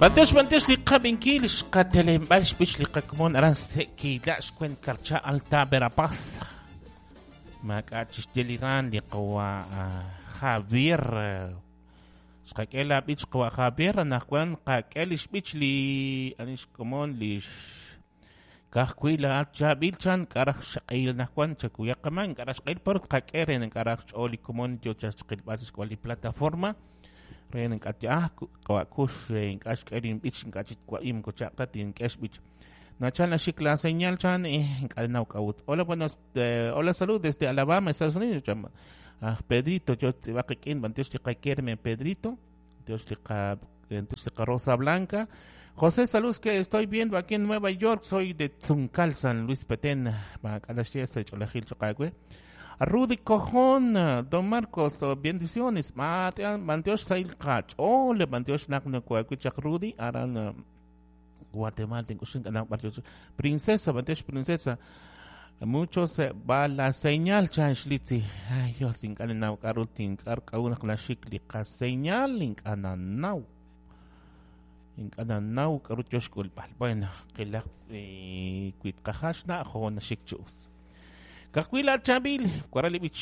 B'antiox b'antiox li qab'inkil xqatelenb'al xb'ich li qakomon aran Sequila xwen Carcha Alta Verapaz. Maak'a' chixye li ran li qawa Javier. Xqak'e la b'ich qawa Javier anaqwan qak'e li xb'ich li ani xkomon li Ka'ajwi' laa'at chaab'il chan k'a' raj xq'ehil anaqwan chakuyaq qamaan k'a' raj xq'ehil por tqak'e re naq k'a' raj xch'ool li komon yo chaq xqilb'al sa' xk'ab'a' li plataforma re naq k'a' ah qawa' kux re ink'a' xk'e linb'ich ink'a' chik twa'im moko chaq ta tink'e xb'ich nachal naxik la señal chan ink'a' naw k'a'ut. Hola, buenas, hola, salud desde Alabama, Estados Unidos chan. Aj Pedrito yo tz'ib'aq qik'in b'antiox li qakerme Pedrito. Dios li qa Dios li qa Rosa Blanca. José Salud que estoy viendo aquí en Nueva York, soy de Tzuncal, San Luis Petén. Maak'a' naxye sa' ch'oolejil choq' aawe. Rudy Cojón, Don Marcos, bendiciones. B'antiox sahil qach'ool, b'antiox naq nako'awi chaq Rudy aran Guatemala tink'uxin k'anaq b'ar Princesa, b'antiox Princesa. Mucho se va la señal chan xlitzi. Ay, Dios, ink'a' ninnaw k'a'ru tink'ar k'a'ru naq naxik li qaseñal, ink'a' nannaw. Ink'a' nannaw k'a'ru yo xk'ulb'al. Bueno, qilaq wi tqaja xna' jo naxik chi us. Ka'ajwi' laat chaab'il, waral li b'ich.